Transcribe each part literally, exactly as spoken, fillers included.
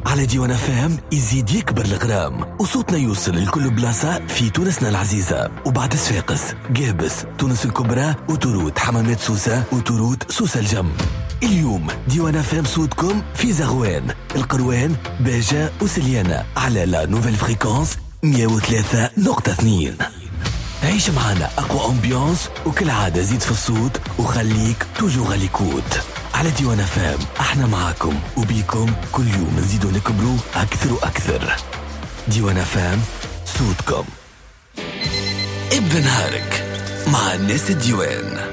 على ديوان اف ام يزيد يكبر الغرام وصوتنا يوصل لكل بلاصة في تونسنا العزيزة، وبعد صفاقس، قابس، تونس الكبرى، وتروت حمامات سوسة، وتروت سوسة الجم. اليوم ديوان اف ام صوتكم في زغوان، القروان، باجة وسليانة على la nouvelle fréquence مية وثلاثة نقطة اثنين. عيش معنا أقوى ambiance، وكالعادة زيد في الصوت وخليك toujours à l'écoute على ديوان اف ام. احنا معاكم وبيكم كل يوم نزيدوا نكبروا أكثر وأكثر. ديوان اف ام صوتكم. ابدأ نهارك مع الناس الديوان.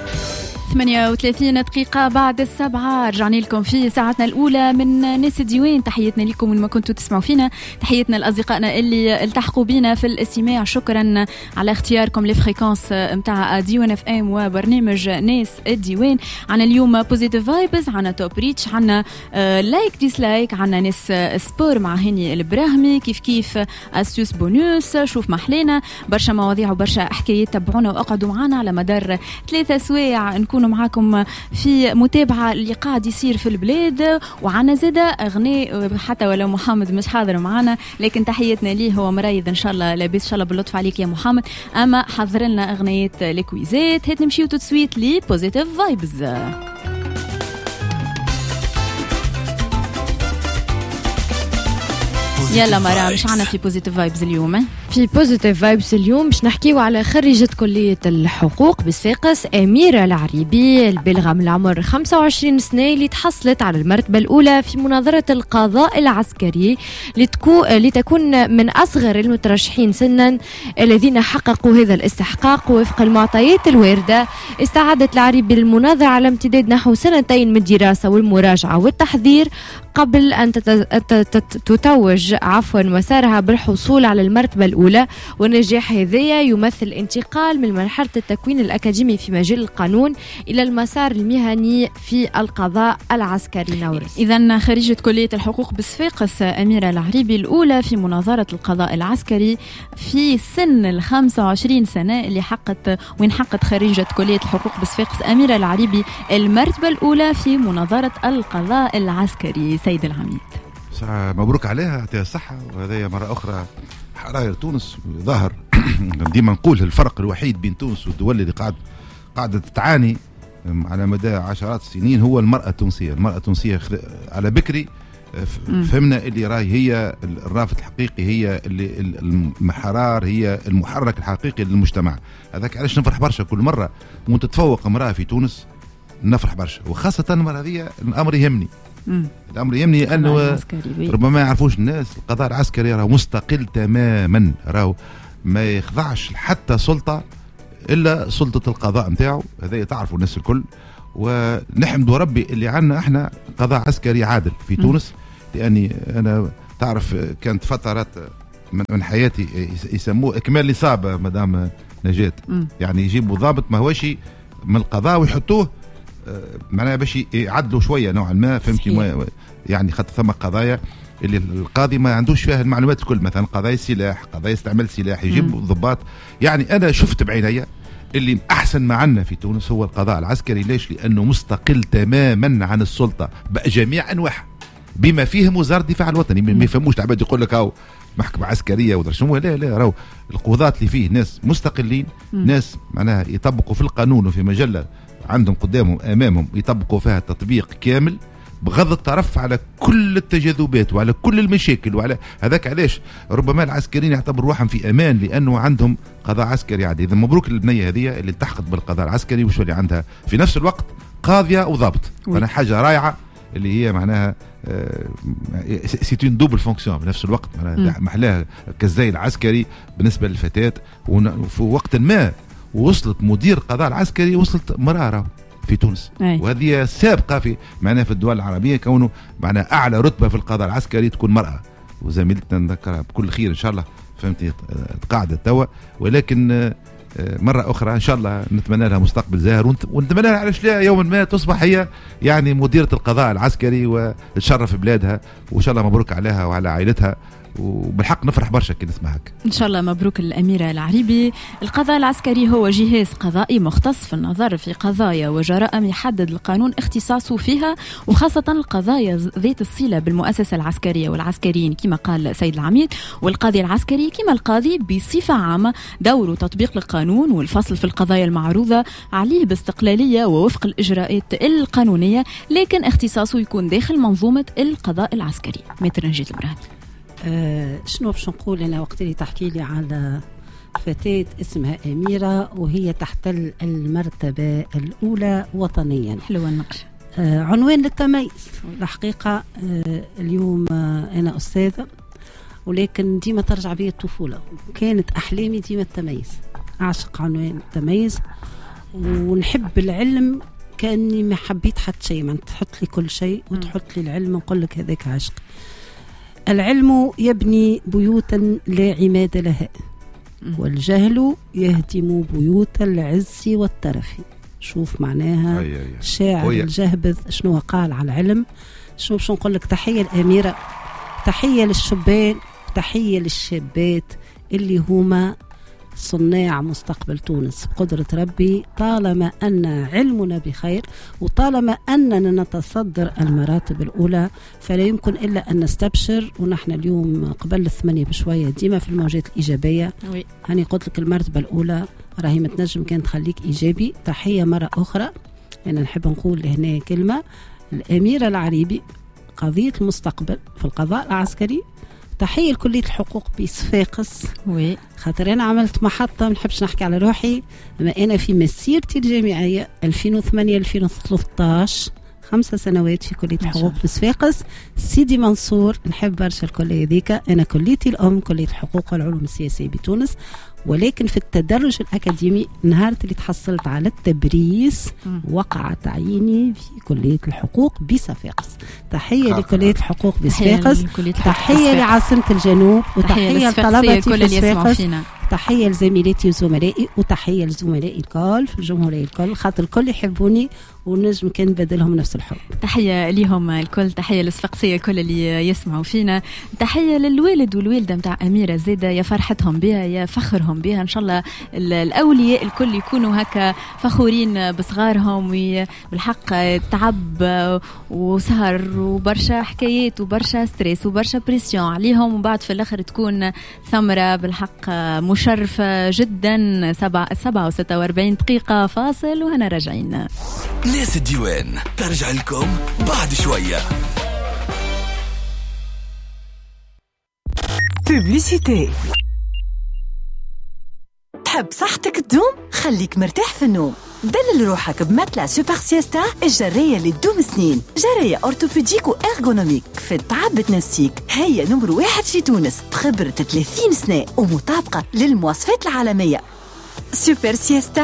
ثمانية وثلاثين دقيقة بعد السبعة رجعنا لكم في ساعتنا الأولى من ناس الديوان. تحياتنا لكم وين ما كنتوا تسمعوا فينا، تحياتنا لأصدقائنا اللي التحقوا بينا في الاستماع. شكرا على اختياركم les fréquences متاع ديوان اف ام وبرنامج ناس الديوان. عنا اليوم positive vibes، عنا top reach، عنا like dislike، عنا ناس sport مع هاني البراهمي، كيف كيف astuce bonus، شوف محلينا، برشا مواضيع وبرشا حكايات. تبعونا واقعدوا معنا على مدار ثلاثة سوايع نكون معاكم في متابعة اللي قاعد يصير في البلاد. وعنا زادة أغنية حتى ولو محمد مش حاضر معنا، لكن تحياتنا ليه، هو مريض إن شاء الله لاباس، إن شاء الله باللطف عليك يا محمد. أما حضر لنا أغنية الكويزات، هات نمشيو tout de suite ل positive vibes. يلا مرام، مش عنا في positive vibes اليوم؟ في positive vibes اليوم باش نحكيو على خريجة كلية الحقوق بصفاقس أميرة العريبي البالغة من العمر خمسة وعشرين سنة، اللي تحصلت على المرتبة الأولى في مناظرة القضاء العسكري لتكو... لتكون من أصغر المترشحين سنا الذين حققوا هذا الاستحقاق. وفق المعطيات الواردة استعدت العريبي للمناظرة على امتداد نحو سنتين من الدراسة والمراجعة والتحضير قبل أن تتوج عفوا مسارها بالحصول على المرتبة الأولى. والنجاح هذايا يمثل انتقال من مرحلة التكوين الأكاديمي في مجال القانون إلى المسار المهني في القضاء العسكري. نورس، إذن خريجة كلية الحقوق بصفاقس أميرة العريبي الأولى في مناظرة القضاء العسكري في سن الخمسة وعشرين سنة، اللي حقت وين حقت خريجة كلية الحقوق بصفاقس أميرة العريبي المرتبة الأولى في مناظرة القضاء العسكري. سيد العميد، مبروك عليها، يعطيها الصحة. وهذا مرة أخرى حراير تونس ظاهر. ديما نقول الفرق الوحيد بين تونس والدول اللي قاعد قاعدة تعاني على مدى عشرات السنين هو المرأة التونسية. المرأة التونسية على بكري فهمنا اللي راهي هي الرافد الحقيقي، هي اللي المحرار، هي المحرك الحقيقي للمجتمع. هذاك علاش نفرح برشا كل مرة وانت تتفوق امرأة في تونس، نفرح برشا، وخاصة المرأة هذه الأمر يهمني. مم. الأمر يهمني أنه ربما ما يعرفوش الناس القضاء العسكري راه مستقل تماما، راه ما يخضعش حتى سلطة إلا سلطة القضاء متاعه، هذا تعرفوا الناس الكل. ونحمد ربي اللي عندنا احنا قضاء عسكري عادل في تونس، لأني أنا تعرف كانت فترات من حياتي يسموه إكمال نصاب مدام نجاة، يعني يجيبوا ضابط ما هوش من القضاء ويحطوه معناها باش يعدلوا شوية نوعا ما، فهمتي؟ يعني خاطر ثم قضايا اللي القاضي ما عندوش فيها المعلومات الكل، مثلا قضايا سلاح، قضايا استعمال سلاح، يجيب ضباط. يعني انا شفت بعيني اللي احسن ما عندنا في تونس هو القضاء العسكري. ليش؟ لانه مستقل تماما عن السلطة بجميع انواعها بما فيهم وزارة الدفاع الوطني. ما يفهموش العباد يقول لك هاو محكمة عسكرية ولا شنو، لا لا، راهو القضاة اللي فيه ناس مستقلين، مم. ناس معناها يطبقوا في القانون وفي مجلة عندهم قدامهم امامهم يطبقوا فيها تطبيق كامل بغض الطرف على كل التجاذبات وعلى كل المشاكل وعلى هذاك. علاش ربما العسكريين يعتبروا روحهم في امان لانه عندهم قضاء عسكري عادي. اذا مبروك للبنيه هذه اللي التحقت بالقضاء العسكري وش اللي عندها في نفس الوقت قاضيه وضابط، فانا حاجة رائعة اللي هي معناها c'est une double fonction في نفس الوقت، معناها محلاها كالزي العسكري بالنسبة للفتاة. وفي وقت ما وصلت مدير القضاء العسكري، وصلت مرارة في تونس. أي. وهذه سابقة في معناها في الدول العربية، كونه معناها أعلى رتبة في القضاء العسكري تكون مرأة. وزميلتنا نذكرها بكل خير إن شاء الله، فهمتي، تقاعدت توا، ولكن مرة أخرى إن شاء الله نتمنى لها مستقبل زاهر، ونتمنى لها علاش لا يوما ما تصبح هي يعني مديرة القضاء العسكري وتشرف بلادها، وإن شاء الله مبروك عليها وعلى عائلتها. وبالحق نفرح برشا كي نسمع هكا. ان شاء الله مبروك الأميرة العريبي. القضاء العسكري هو جهاز قضائي مختص في النظر في قضايا وجرائم يحدد القانون اختصاصه فيها، وخاصة القضايا ذات الصلة بالمؤسسة العسكرية والعسكريين كما قال سيد العميد. والقاضي العسكري كما القاضي بصفة عامة دوره تطبيق القانون والفصل في القضايا المعروضة عليه باستقلالية ووفق الإجراءات القانونية، لكن اختصاصه يكون داخل منظومة القضاء العسكري. متر نجية البراهمي. أه شنو باش نقول أنا وقت اللي تحكي لي على فتاة اسمها أميرة وهي تحتل المرتبة الأولى وطنيا. حلوة النقش. أه عنوان للتميز الحقيقة. أه اليوم أه أنا أستاذة، ولكن ديما ترجع بي الطفولة، كانت أحلامي ديما التميز، أعشق عنوان التميز ونحب العلم كأني ما حبيت حتى شيء، ما تحط لي كل شيء وتحط لي العلم نقول لك هذاك عشق. العلم يبني بيوتا لا عماد لها، والجهل يهدم بيوت العز والترف. شوف معناها شاعر الجهبذ شنو قال على العلم. شنو باش نقول لك، تحية الأميرة، تحية للشبان، تحية للشابات اللي هما صناع مستقبل تونس بقدرة ربي. طالما أن علمنا بخير وطالما أننا نتصدر المراتب الأولى فلا يمكن إلا أن نستبشر. ونحن اليوم قبل الثمانية بشوية ديما في الموجات الإيجابية. هاني قلت لك المرتبة الأولى راهي متنجم كانت تخليك إيجابي. تحية مرة أخرى، أنا نحب نقول هنا كلمة، الأميرة العريبي قضية المستقبل في القضاء العسكري. تحية لكلية الحقوق بصفاقس، oui. خاطر أنا عملت محطة، ما نحبش نحكي على روحي، أما أنا في مسيرتي الجامعية ألفين وثمانية ألفين وثلاثة عشر خمسة سنوات في كلية الحقوق بصفاقس سيدي منصور. نحب برشا الكلية ذيك، أنا كليتي الأم كلية الحقوق والعلوم السياسية بتونس، ولكن في التدرج الأكاديمي نهار اللي تحصلت على التبريس وقع تعييني في كلية الحقوق بصفاقس. تحية لكلية الحقوق بصفاقس، تحية لعاصمة الجنوب، وتحية لطلبتي في صفاقس، تحية لزميلاتي وزملائي، وتحية لزملائي الكل في الجمهورية الكل، خاطر الكل يحبوني ونجم كان بدلهم نفس الحب. تحية ليهم الكل، تحية للصفاقسية الكل اللي يسمعوا فينا، تحية للوالد والوالدة متاع أميرة زادة، يا فرحتهم بها يا فخرهم بها. إن شاء الله الأولياء الكل يكونوا هكا فخورين بصغارهم، وبالحق تعب وسهر وبرشا حكايات وبرشا stress وبرشا pression عليهم، وبعد في الآخر تكون ثمرة بالحق مشرفة جدا. سبعة سبعة وستة وأربعين دقيقة فاصل وهنا راجعين. ناس الديوان ترجع لكم بعد شوية. Publicité. تحب صحتك تدوم؟ خليك مرتاح في النوم. دلل روحك ب matelas Super Siesta، الجرية اللي تدوم سنين، جرية orthopédique و ergonomique في التعب تنسيك. هي نمر واحد في تونس بخبرة ثلاثين سنة ومطابقة للمواصفات العالمية. Super Siesta،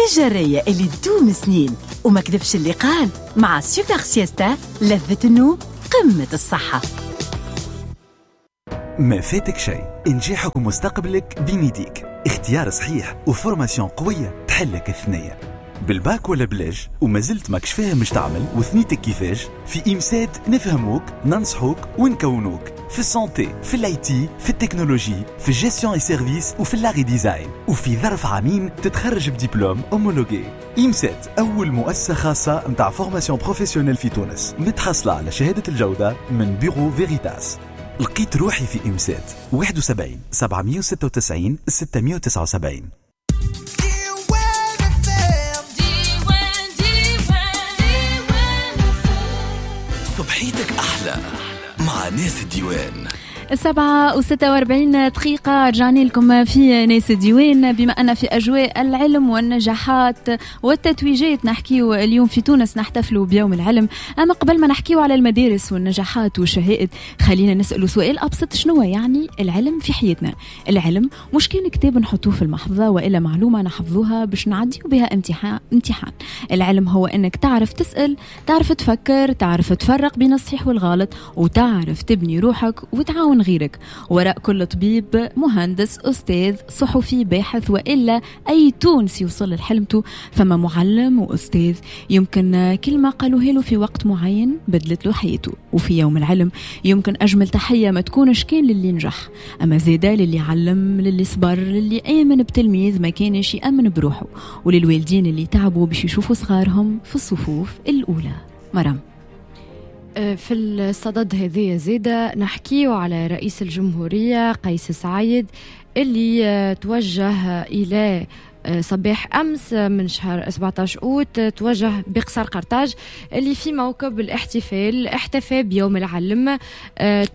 الجرية اللي تدوم سنين. وما كذبش اللي قال، مع Super Siesta لذة النوم قمة الصحة. ما فاتك شيء، انجاحك ومستقبلك بين يديك. اختيار صحيح و formation قوية تحلك الثنية. بالباك ولا بلاش وما زلت ماكش فاهم مش تعمل وثنيتك كيفاش، في إمسات نفهموك، ننصحوك ونكونوك في ال santé، في ال IT، في التكنولوجي، في ال gestion et services، وفي l'art design. وفي ظرف عامين تتخرج ب diplôme homologué. إمسات أول مؤسسة خاصة متاع formation professionnelle في تونس، متحصلة على شهادة الجودة من Bureau Veritas. لقيت روحي في إمسات. واحد وسبعين سبعمية وستة وتسعين ستمية وتسعة وسبعين. صبحيتك أحلى مع ناس الديوان. السبعة وستة وأربعين دقيقة رجعنا لكم في ناس الديوان. بما أن في أجواء العلم والنجاحات والتتويجات نحكيو اليوم في تونس، نحتفلوا بيوم العلم. أما قبل ما نحكيو على المدارس والنجاحات والشهائد، خلينا نسأل سؤال أبسط: شنو يعني العلم في حياتنا؟ العلم مش كان كتاب نحطوه في المحفظة وإلا معلومة نحفظوها باش نعديو بها امتحان امتحان. العلم هو أنك تعرف تسأل، تعرف تفكر، تعرف تفرق بين الصحيح والغلط، وتعرف تبني روحك وتعاون من غيرك. وراء كل طبيب، مهندس، أستاذ، صحفي، باحث، وإلا أي تونسي يوصل لحلمته فما معلم وأستاذ يمكن كلمة قالوها له في وقت معين بدلت له حياته. وفي يوم العلم يمكن أجمل تحية ما تكونش كان للي نجح، أما زادة للي علم، للي صبر، للي آمن بتلميذ ما كانش يأمن بروحه، وللوالدين اللي تعبوا باش يشوفوا صغارهم في الصفوف الأولى. مرام، في الصدد هذه زادة نحكيه على رئيس الجمهورية قيس سعيد اللي توجه إلى صباح أمس من شهر سبعة عشر أوت، توجه بقصر قرطاج اللي في موكب الاحتفال احتفى بيوم العلم.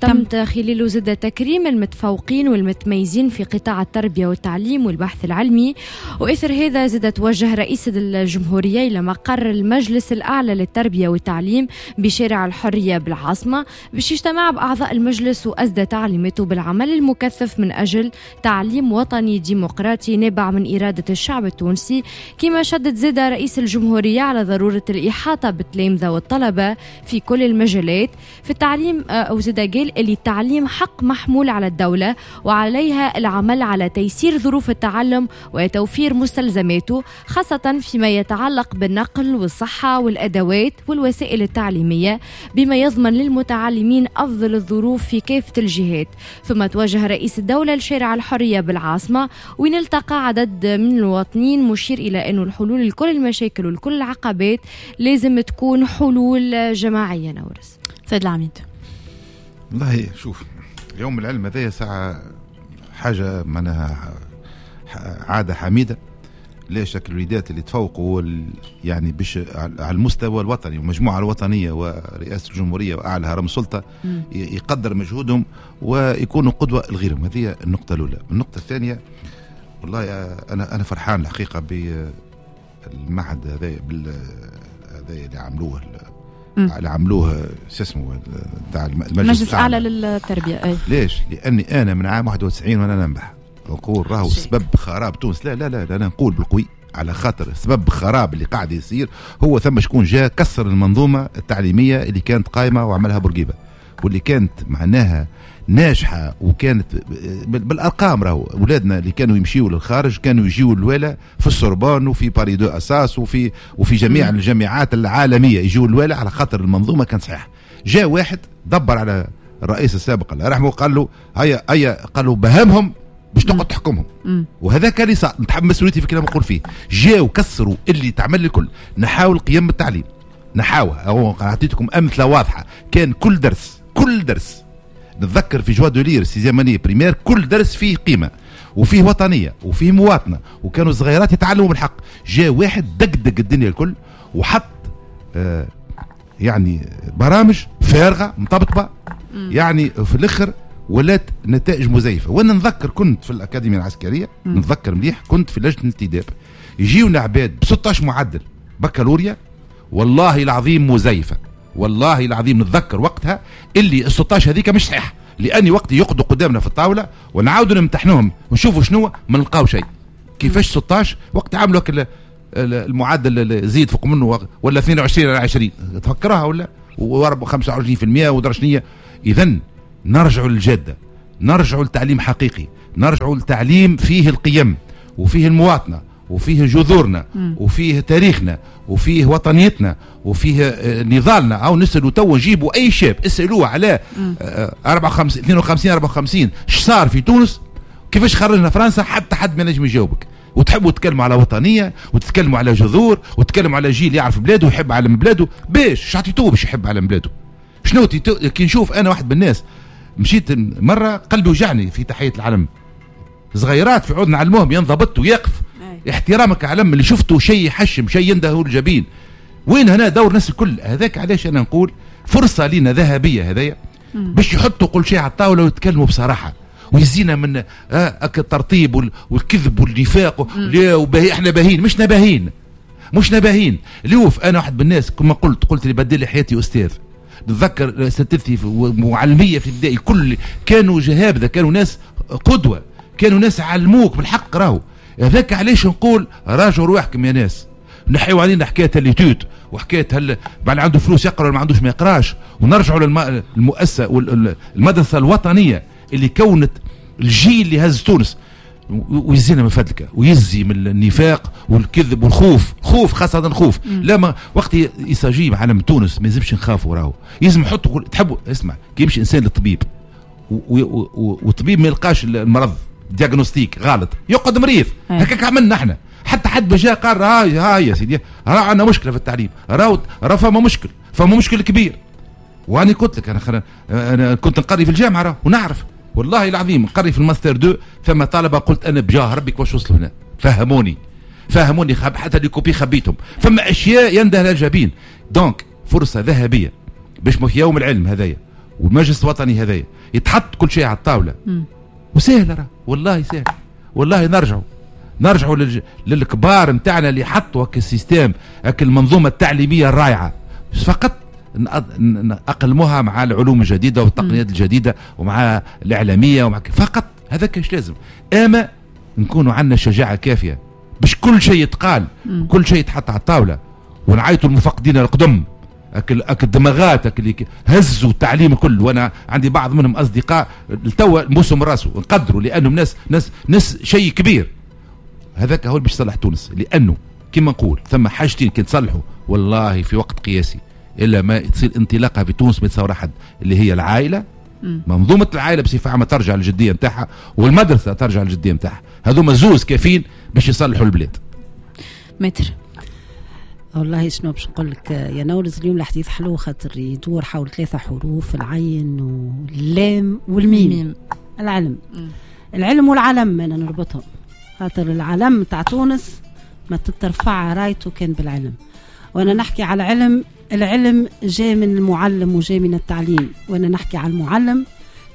تم خلاله زاد تكريم المتفوقين والمتميزين في قطاع التربية والتعليم والبحث العلمي. وإثر هذا زاد توجه رئيس الجمهورية إلى مقر المجلس الأعلى للتربية والتعليم بشارع الحرية بالعاصمة باش يجتمع بأعضاء المجلس وأسدى تعليماته بالعمل المكثف من أجل تعليم وطني ديمقراطي نابع من إرادة الشعب التونسي. كما شدد زاد رئيس الجمهورية على ضرورة الإحاطة بالتلامذة والطلبة في كل المجالات في التعليم، أو زاد قال اللي التعليم حق محمول على الدولة وعليها العمل على تيسير ظروف التعلم وتوفير مستلزماته، خاصة فيما يتعلق بالنقل والصحة والأدوات والوسائل التعليمية، بما يضمن للمتعلمين أفضل الظروف في كافة الجهات. ثم توجه رئيس الدولة لشارع الحرية بالعاصمة وين التقى عدد من المواطنين، مشير إلى أنه الحلول لكل المشاكل ولكل العقبات لازم تكون حلول جماعية. نورس، سيد العميد، والله شوف يوم العلم هذا ساعة حاجة معناها عادة حميدة. ليش الوليدات اللي تفوقوا يعني بش على المستوى الوطني والمجموعة الوطنية ورئاسة الجمهورية وأعلى هرم السلطة يقدر مجهودهم ويكونوا قدوة لغيرهم. هذه النقطة الأولى. النقطة الثانية، والله أنا أنا فرحان الحقيقة بالمعهد هذا هذا اللي عملوه اللي عملوه شو اسمه تاع المجلس الأعلى للتربية. أي. ليش؟ لأني أنا من عام واحد وتسعين وأنا ننبح نقول راهو سبب خراب تونس. لا لا لا, لا نقول بالقوي على خاطر سبب خراب اللي قاعد يصير هو ثم شكون جاء كسر المنظومة التعليمية اللي كانت قائمة وعملها بورقيبة واللي كانت معناها ناجحة وكانت بالأرقام. راهو أولادنا اللي كانوا يمشيوا للخارج كانوا يجيوا الوالة في السوربون وفي باري دو أساس وفي وفي جميع الجامعات العالمية يجيوا الوالة على خاطر المنظومة كانت صحيحة. جاء واحد دبر على الرئيس السابق الله يرحمه قال له هيا هيا قال له بهمهم باش تقعد تحكمهم. وهذا كان اللي صار. نتحمل مسؤوليتي في كلام نقول فيه. جاوا كسروا اللي تعمل الكل. نحاول قيم التعليم نحاوها. أعطيتكم أمثلة واضحة. كان كل درس كل درس نتذكر في joie de lire sixième année primaire كل درس فيه قيمة وفيه وطنية وفيه مواطنة وكانوا الصغيرات يتعلموا بالحق. جاء واحد دقدق الدنيا الكل وحط آه يعني برامج فارغة مطبطبة يعني في الآخر ولات نتائج مزيفة. وانا نذكر كنت في الأكاديمية العسكرية م. نتذكر مليح كنت في لجنة الانتداب يجيونا عباد ب ستة عشر معدل بكالوريا والله العظيم مزيفة. والله العظيم نتذكر وقتها اللي ال ستة عشر هذيك مش صحيح، لأني وقت يقعدوا قدامنا في الطاولة ونعاودوا نمتحنوهم ونشوفوا شنو ما نلقاو شيء. كيفاش ستة عشر وقت عملوا المعدل زيد فوق منه ولا اثنين وعشرين على عشرين تفكرها ولا وخمسة وعشرين بالمئة ودرشنية. إذن نرجعوا للجادة، نرجعوا لتعليم حقيقي، نرجعوا لتعليم فيه القيم وفيه المواطنة وفيه جذورنا وفيه تاريخنا وفيه وطنيتنا وفيه نضالنا. أو نسألوا تو نجيبوا أي شاب اسألوه على أربعة وخمسين اثنين وخمسين أربعة وخمسين اش صار في تونس، كيفاش خرجنا فرنسا، حتى حد ما نجم يجاوبك. وتحبوا تتكلموا على وطنية وتتكلموا على جذور وتتكلموا على جيل يعرف بلاده ويحب علم بلاده. باش شعطيتوه باش يحب علم بلاده؟ شنو كي نشوف أنا واحد من الناس مشيت مرة قلبي وجعني في تحية العلم، صغيرات في عود نعلموهم ينضبط ويقف احترامك علم اللي شفته شيء يحشم شيء ينده الجبين. وين هنا دور الناس الكل؟ هذاك علاش انا نقول فرصة لنا ذهبية هذايا باش يحطوا كل شيء على الطاولة ويتكلموا بصراحة ويزينا من آه الترطيب والكذب والنفاق. وباهي احنا باهين مش نباهين مش نباهين. لوف انا واحد من الناس كما قلت قلت اللي بدل لي حياتي استاذ. نتذكر اساتذتي ومعلميه في الابتدائي كل كانوا جهابذه، كانوا ناس قدوة، كانوا ناس علموك بالحق. راهو هذاك علاش نقول راجعوا رواحكم يا ناس، نحيوا علينا حكاية les études وحكاية هل بعد عنده فلوس يقرا ولا ما عندوش ما يقراش، ونرجعوا للمؤسسه والمدرسة الوطنية اللي كونت الجيل اللي هز تونس. ويزينا من فدلكه ويزي من النفاق والكذب والخوف، خوف خاصة خوف. لما وقت يساجي علم تونس ما يلزمش نخافوا، راهو يلزم نحطوا تحبوا. اسمع، كي يمشي انسان للطبيب والطبيب ما يلقاش المرض diagnostic غلط يقعد مريض. هكاك عملنا احنا، حتى حد بجا قال هاي هاي يا سيدي راه عندنا مشكلة في التعليم، راهو راه فما مشكل، فما مشكل كبير. وانا قلت لك انا خل... انا كنت نقري في الجامعة راه ونعرف والله العظيم نقري في ال master deux، ثم طلبه قلت انا بجاه ربي كيفاش وصلوا هنا، فهموني فهموني حتى les copies خبيتهم. فما اشياء ينده لها الجبين. donc فرصة ذهبية باش في يوم العلم هذايا والمجلس الوطني هذايا يتحط كل شيء على الطاولة. وسهلة راه والله سهل، والله نرجعوا نرجعوا للج... للكبار نتاعنا اللي حطوا هك ال système، هك المنظومة التعليمية الرائعة، فقط نأقلموها مع العلوم الجديدة والتقنيات الجديدة ومع الاعلامية ومع فقط هذاك ايش لازم. اما نكونوا عندنا شجاعة كافيه باش كل شيء يتقال، كل شيء يتحط على الطاولة، ونعيطوا المفقدين القدم، اكل اكل الدماغات اكل اللي هزوا التعليم كله. وانا عندي بعض منهم اصدقاء لتوا موسم راسه نقدروا لانهم ناس ناس ناس شيء كبير. هذاك هو اللي باش يصلح تونس، لانه كما نقول ثم حاجتين كي تصلحوا والله في وقت قياسي الا ما تصير انطلاقة في تونس ما يتصور حد، اللي هي العائلة، منظومة العائلة بصفة عامة ترجع للجديه نتاعها، والمدرسة ترجع للجديه نتاعها. هذوما زوز كافيين باش يصلحوا البلاد. متر والله شنو باش نقول لك يا نورز، اليوم الحديث حلو خاطر يدور حول ثلاثة حروف، العين واللام والميم. العلم. مم. العلم والعلم انا نربطهم، خاطر العلم تاع تونس ما تترفع رايته كان بالعلم. وانا نحكي على العلم، العلم جاي من المعلم وجاي من التعليم، وانا نحكي على المعلم.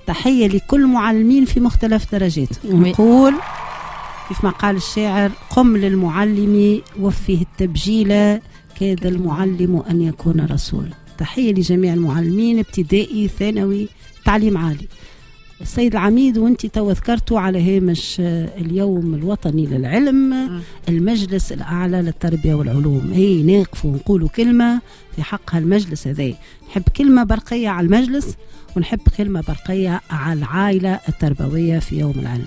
تحية لكل معلمين في مختلف درجات، ونقول كيف ما قال الشاعر: قم للمعلم وفيه التبجيل، كاد المعلم أن يكون رسولا. تحية لجميع المعلمين، ابتدائي ثانوي تعليم عالي. السيد العميد وانت تو ذكرتوا على هامش اليوم الوطني للعلم م. المجلس الأعلى للتربية والعلوم، هي ناقفوا ونقولوا كلمة في حقها المجلس هذا. نحب كلمة برقية على المجلس، ونحب كلمة برقية على العائلة التربوية في يوم العلم.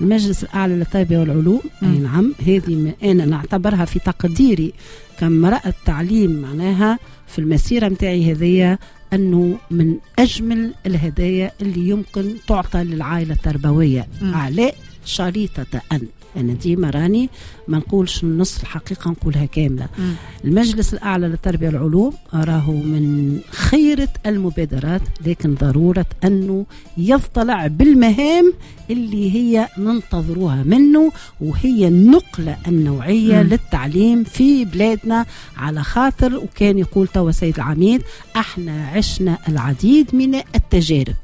المجلس الأعلى للتربية والعلوم، أي نعم، هذه أنا نعتبرها في تقديري كامرأة تعليم معناها في المسيرة متاعي هذه أنه من أجمل الهدايا اللي يمكن تعطى للعائلة التربوية، على شريطة أن أنا ديما راني ما نقولش النص، الحقيقة نقولها كاملة. مم. المجلس الأعلى للتربية والعلوم راهو من خيرة المبادرات، لكن ضرورة أنه يطلع بالمهام اللي هي ننتظروها منه، وهي النقلة النوعية مم. للتعليم في بلادنا. على خاطر وكان يقول توا سيد العميد احنا عشنا العديد من التجارب.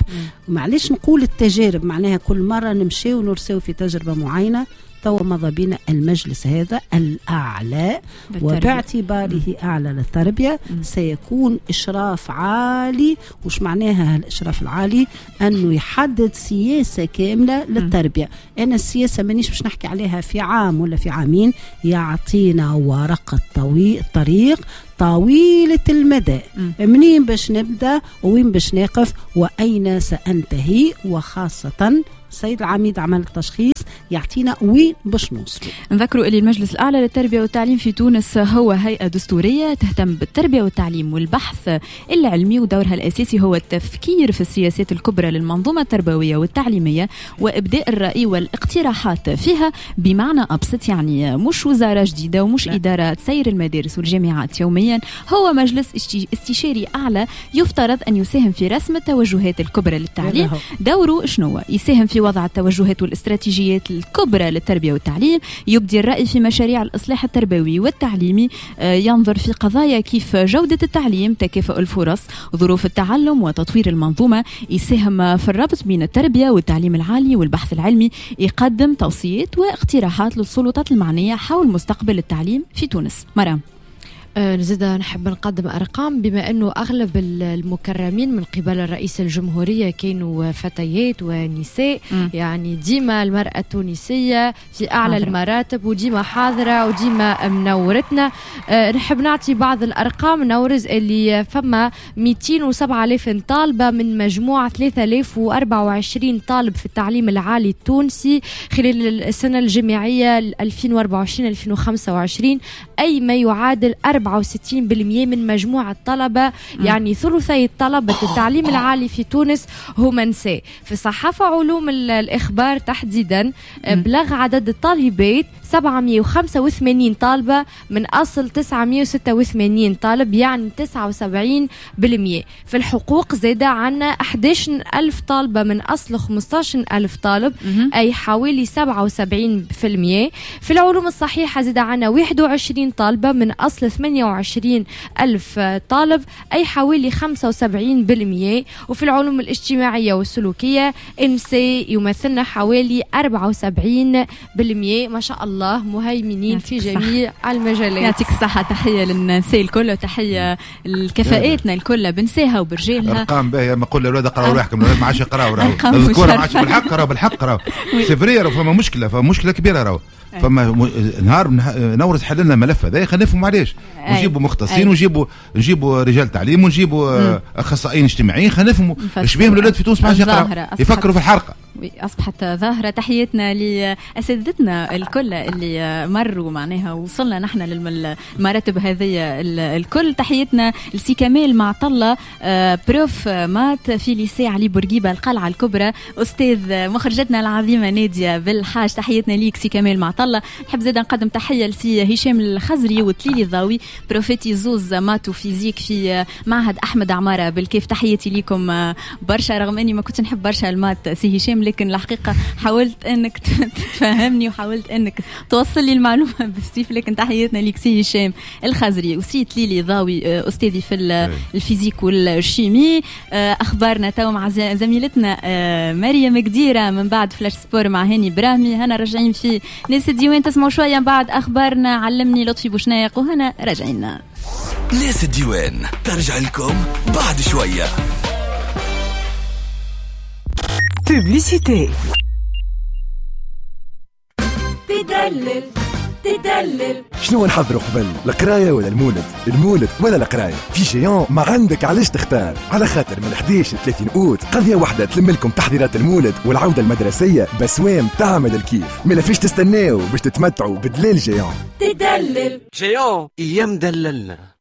معلش نقول التجارب معناها كل مرة نمشي ونرسو في تجربة معينة. تو مضى بنا المجلس هذا الأعلى، وباعتباره أعلى للتربية سيكون إشراف عالي. وش معناها الإشراف العالي؟ أنه يحدد سياسة كاملة للتربية. أنا السياسة مانيش باش نحكي عليها في عام ولا في عامين، يعطينا ورقة طويل طريق طويلة المدى، منين باش نبدأ وين باش نقف وأين سأنتهي. وخاصة السيد العميد عمل التشخيص يعطينا وين باش نوصلوا. نذكروا اللي المجلس الأعلى للتربية والتعليم في تونس هو هيئة دستورية تهتم بالتربية والتعليم والبحث العلمي، ودورها الأساسي هو التفكير في السياسات الكبرى للمنظومة التربوية والتعليمية وإبداء الرأي والاقتراحات فيها. بمعنى أبسط يعني مش وزارة جديدة ومش لا. إدارة تسير المدارس والجامعات يوميا، هو مجلس استشاري أعلى يفترض أن يساهم في رسم التوجهات الكبرى للتعليم. دوره شنو؟ يساهم في وضع التوجهات والاستراتيجيات الكبرى للتربية والتعليم، يبدي الرأي في مشاريع الإصلاح التربوي والتعليمي، ينظر في قضايا كيف جودة التعليم، تكافؤ الفرص، ظروف التعلم وتطوير المنظومة، يساهم في الربط بين التربية والتعليم العالي والبحث العلمي، يقدم توصيات واقتراحات للسلطات المعنية حول مستقبل التعليم في تونس. مرام. نزيد نحب نقدم أرقام، بما أنه أغلب المكرمين من قبل الرئيس الجمهورية كانوا فتيات ونساء. م. يعني ديما المرأة التونسية في أعلى حاضرة. المراتب، وديما حاضرة وديما منورتنا. أه نحب نعطي بعض الأرقام نورز اللي فما مئتين وسبعة آلاف طالبة من مجموعة ثلاثة آلاف وأربعة وعشرين طالب في التعليم العالي التونسي خلال السنة الجامعية ألفين وأربعة وعشرين ألفين وخمسة وعشرين، أي ما يعادل أربعة وستين بالمئة من مجموع الطلبة. يعني ثلثي الطلبة التعليم العالي في تونس هم نساء. في الصحافة علوم الإخبار تحديدا بلغ عدد الطالبات سبعمئة وخمسة وثمانين طالبة من أصل تسعمئة وستة وثمانين طالب، يعني تسعة وسبعين بالمئة. في الحقوق زاد عنا أحد عشر ألف طالبة من أصل خمسة عشر ألف طالب، أي حوالي سبعة وسبعين بالمئة. في العلوم الصحيحة زاد عنا واحد وعشرين طالبة من أصل ثمانية وعشرين ألف طالب، أي حوالي خمسة وسبعين بالمئة. وفي العلوم الاجتماعية والسلوكية النساء يمثلنا حوالي أربعة وسبعين بالمئة. ما شاء الله مهيمنين في جميع المجالات. يعطيك الصحة، تحية للنساء الكل وتحية لكفاءاتنا الكل بنساها وبرجالها. أرقام باهية، ما قول للأولاد اقراوا روحكم، الأولاد ما عادش يقراوا، راهو الذكورة ما عادش بالحق، راهو بالحق راهو c'est vrai، راهو فما مشكلة، فما مشكلة كبيرة راهو. فما نهار نورز حل لنا الملف هذا، خلينا نفهموا علاش، ونجيبوا مختصين ونجيبوا نجيبوا رجال تعليم ونجيبوا اخصائيين اجتماعيين، خلينا نفهموا ايش بيهم الاولاد في تونس ما عادش يقراوا، يفكروا في الحرقة. أصبحت ظاهرة. تحياتنا لأساتذتنا الكل اللي مروا معناها وصلنا نحن للمراتب هذه الكل. تحياتنا لسي كمال معطلة، prof maths في lycée علي بورقيبة القلعة الكبرى، أستاذ مخرجتنا العظيمة نادية بالحاج. تحياتنا ليك سي كمال معطلة. نحب زاد نقدم تحية لسي هشام الخزري وتليلي الضاوي، بروفيتي زوز maths و physique في معهد أحمد عمارة بالكيف. تحياتي ليكم برشا، رغم أني ما كنتش نحب برشا ال maths سي هشام، لكن الحقيقة حاولت أنك تفهمني وحاولت أنك توصل لي المعلومة بالسيف. لكن تحياتنا ليك سي هشام الخزري وسي تليلي ضاوي، أستاذي في ال physique وال chimie. أخبارنا تو مع زميلتنا مريم قديرة، من بعد flash sport مع هاني براهمي. هنا راجعين في ناس الديوان، تسمعوا شوية من بعد أخبارنا. علمني لطفي بوشناق وهنا راجعين. ناس الديوان ترجع لكم بعد شوية. Publicité. تدلل تدلل. شنو نحضروا قبل، القراية ولا المولد؟ المولد ولا القراية؟ في Géant ما عندك علاش تختار، على خاطر من أحد عشر ل ثلاثين أوت قضية واحدة تلم لكم تحضيرات المولد والعودة المدرسية بسوام تعمل الكيف. ما فيش تستناو باش تتمتعوا بدلال Géant. تدلل Géant يا مدللنا.